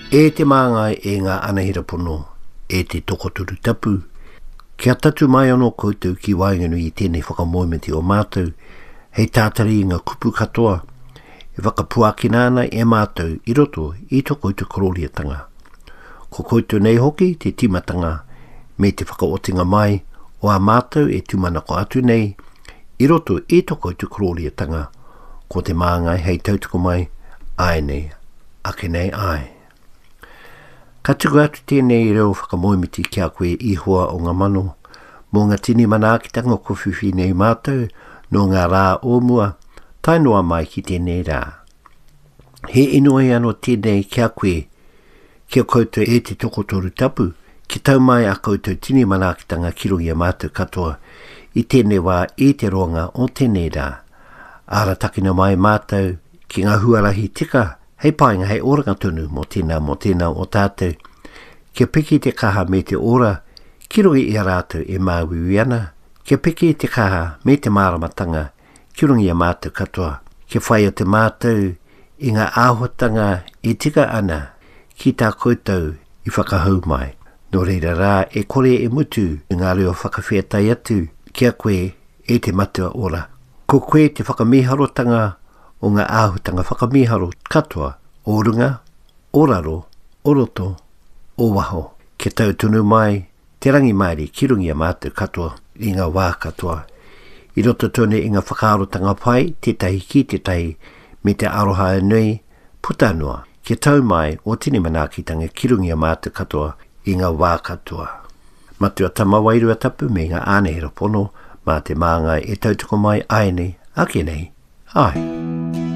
E te māngai e ngā anahera pono, e te tokotoru tapu, kia tatu mai anō koutou ki waenganui i tēnei whakamoemiti o mātou, hei tātari i ngā kupu katoa e whakapuakina ana e mātou i roto i to koutou korōriatanga. Ko koutou nei hoki te tīmatanga me te whakaotinga mai o ā mātou e tūmanako atu nei i roto i to koutou korōriatanga, ko te māngai hei tautoko mai āianei, ake nei āe. Ka tuku atu tēnei reo whakamoemiti ki a koe Ihoa o ngā mano, mō ngā tini manaakitanga kua whiwhi nei mātou nō ngā rā o mua tae noa mai ki tēnei rā. He inoi anō tēnei ki a koe, ki a koutou e te tokotoru tapu, kia tau mai a koutou tini manaakitanga ki runga i a mātou katoa i tēnei wā i te roanga o tēnei rā. Aratakina mai mātou ki ngā huarahi tika hei painga hei oranga tonu mō tēnā mō tēnā o tātou. Kia piki te kaha me te ora ki runga i a rātou e māuiui ana, kia piki te kaha me te māramatanga ki runga i a mātou katoa, kia whai atu mātou i ngā āhuatanga e tika ana ki tā koutou i whakahau mai. Nō reira rā e kore e mutu ngā reo whakawhētai atu ki a koe e te Matua Ora. Ko koe te whakamīharotanga o ngā āhutanga whakamīharo katoa o runga, o raro, o roto, o waho. Kia tau tonu mai te rangimārie ki runga i a mātou katoa i ngā wā katoa. I roto tonu i ngā whakaarotanga pai tētahi ki tētahi me te aroha nui puta noa. Kia tau mai ō tini manaakitanga ki runga i a mātou katoa i ngā wā katoa. Matua Tama Wairua Tapu me ngā ānehera pono mā te māngai e tautoko mai āianei, ake nei, āe.